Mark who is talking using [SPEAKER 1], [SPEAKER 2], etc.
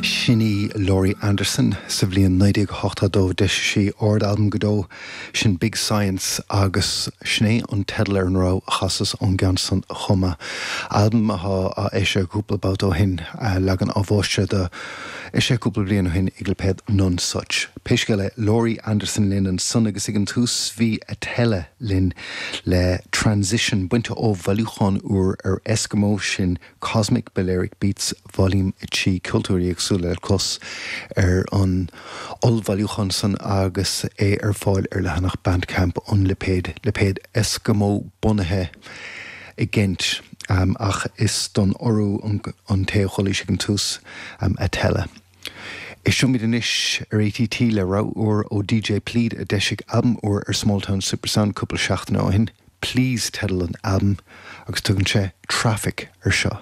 [SPEAKER 1] Sin í Laurie Anderson. Sa bhliain 1982 d'eisigh sí ard-albam go deo, sin Big Science agus sin é an teideal ar an rogha a chasas ón gceann san chomh maith. Albam atá á eisiadh cúpla babhta ó shin, leagan athmháistrithe de, eisithe cúpla bliain ó shin ag lipéad Nonesuch. Pé scéal é, Laurie Anderson linn ansan agus ag an tús bhí Atella linn le Transition bainte ó bhailiúchán úr ar Eskimo, sin Cosmic Balearic Beats Volume 3, ceoltóirí éagsúla le clos ar an ollbhailiúchán san agus é ar fáil ar leathanach Bandcamp an lipéid, lipéad Eskimo bunaithe i gCent, ach is don Iorua an té a chualaís ag an tús, Atella. Éisteoimid anois ar ATT le rogha úr ó DJ Plead a d'eisigh albam úr ar Smalltown Supersound cúpla seachtain ó shin. Please teideal an albaim agus tugann sé Traffic ar seo.